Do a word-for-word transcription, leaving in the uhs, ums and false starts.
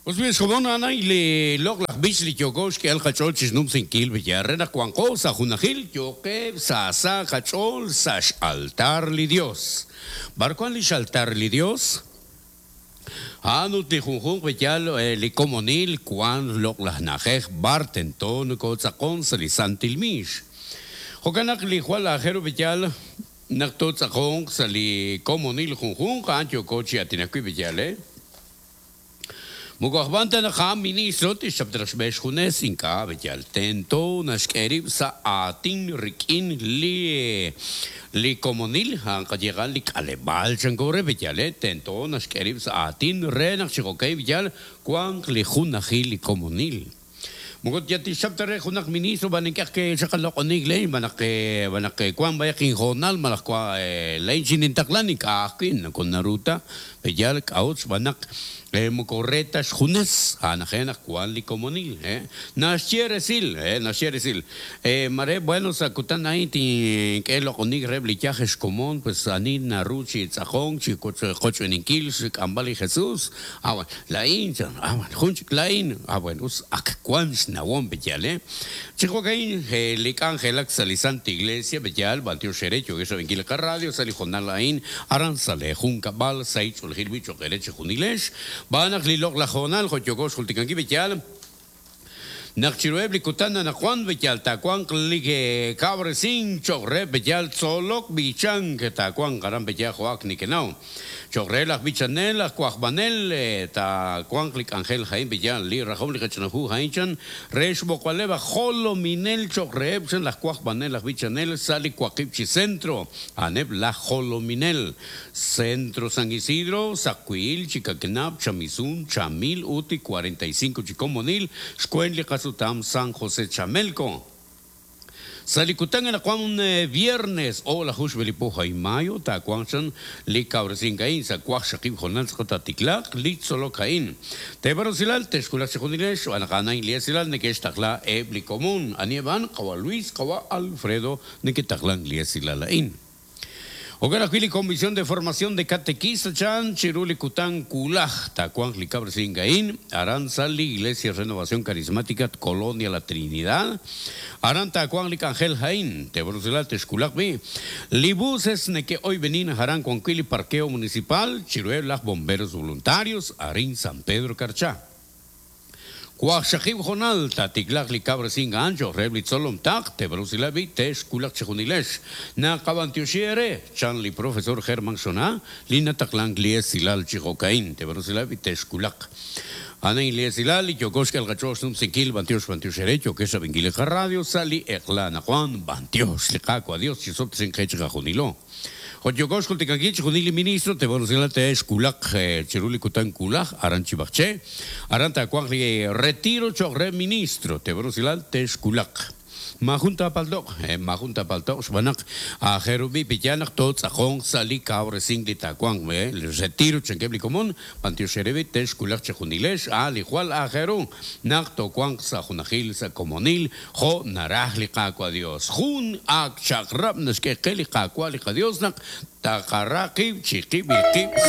Us xkomon anay li loq laj b'ich li yooko xk'ehal qach'ool chi xnumsinkil Villarre naq wanqo sa' junajil yoqeb' sa' sa' qach'ool sa' xaltar li Dios. B'ar wan li xaltar li Dios? A'an ut li junjunq b'eyal li komonil wan loq laj na'ajej b'ar tento nokootz'aqon sa' li santil miix. Jo'kan naq li jwal aajel ru b'eyal naq tootz'aqonq sa' li komonil junjunq a'an yooko chi atinakwi b'eyal, eh? Moko ajb'an ta naq a'an ministro tixchap xb'e xjunes ink'a' b'eyal tento naxk'e rib' sa' aatin rik'in li li komonil a'an qayeqal li k'aleb'aal chanko re b'eyal, eh? Tento naxk'e rib' sa' aatin re naq chi jo'kay b'eyal wanq li junajil li komonil. Moko ya tixchap ta re junaq ministro b'an ink'aj ke xaqaloq'onik lein b'an naq b'an naq wan b'ayaq injonal malaj kwa lein xinintaqlan ink'a' ajwi' nako naruta b'eyal k'a'ut xb'aan naq moko re ta xjunes a'an aje naq wan li komonil, eh? Naxye resil, eh? Naxye resil. Eh, mare bueno sa' kutan a'in tink'e loq'onik reheb' li yaj xkomon pues ani naru chi tz'aqonk chi qoch'b'eninkil xk'amb'al li Jesús. Ah, bueno, la'in chan, ah, bueno, jun chik la'in. Ah, bueno, us ak wan xnawom b'eyal, eh? Chi jo'ka'in li k'anjelak sa' li Santa Iglesia b'eyal b'antiox xere yo'kex rab'inkil li qarradio sa' li jonal a'in aran sa' le junkab'al sa' ich'oolejil wi' cho'q ere chi junilex. B'an naq li loq laj jonal jo' yooko xjultikankil b'eyal naq chiruheb' li kutan anaqwan b'eyal taawanq li kab'resin cho'q re b'eyal tzolok b'ichank taawanq aran b'eyal jo'ak nikenaw cho'q re laj b'ichanel laj wajb'anel taawanq li k'anjel ja'in b'eyal li rajom li qach'anaju ja'in chan re xb'oqb'aleb' aj jolominel cho'q reheb' chan laj wajb'anel laj b'ichanel sa' li waqib' chi centro a'aneb' laj jolominel Centro San Isidro, Sacuil, Chicaquenab, Chamizún, Chamil, Uti, cuarenta y cinco Chicomonil, Xcuen, li qasutam, San José Chamelco. Sa' li kutan anaqwan viernes o la jux b'elipo y mayo taawanq chan li kawresin ka'in sa' waqxaqib' jonal tz'aqat tiklaq li tzolok ka'in. Tebarosilal texkulaq chi junilex xb'aan naq a'an li esilal neke'xtaqla eb' li komun anieb'an qawa Luis qawa Alfredo neketaqlan li esilal a'in. Jo'kan ajwi' li Comisión de Formación de Catequista chan chiru li kutan kulaj taawanq li kab'resin ka'in aran sa' li Iglesia Renovación Carismática Colonia La Trinidad aran taawanq li k'anjel ja'in tebarosilal texkulaq b'i li buses neke'oyb'enin aran wan wi' li parqueo municipal chiruheb' laj bomberos voluntarios arin San Pedro Carchá. Waqxaqib' jonal tatiklaq li kab'resin a'an cho'q reheb' li tzolom taq tebarosilal b'i texkulaq chi junilex. Naqab'antioxi ere chan li profesor Germán Xona li nataqlank li esilal chi jo'ka'in tebarosilal b'i texkulaq. Ana li esilal li yooko xk'el qach'ool xnumsinkil b'antiox b'antiox ere yo'kex rab'inkil li qarradio sa' li eq'la anaqwan b'antiox li Qaawa' Dios chi sob'tesin qe chi qajunilo. Jo' yooko xjultikankil chi junil li ministro tebarosilal texkulaq chiru li kutan kulaj aran Chibajche aran taawanq li retiro cho'q re ministro tebarosilal texkulaq. Majun tapaltoq, majun tapaltoq xb'aan naq aajel ru b'i b'eyal naq tootz'aqonq sa' li kawresink li taawanq, li retiro chankeb' li komon b'antiox ere b'i texkulaq chi junilex a li jwal aajel ru naq toowanq sa' junajil sa' komonil jo' naraj li Qaawa' Dios. Jun ak chaq'rab' naxk'e qe li Qaawa' li qaDios naq taqara qib' chi qib'il qib'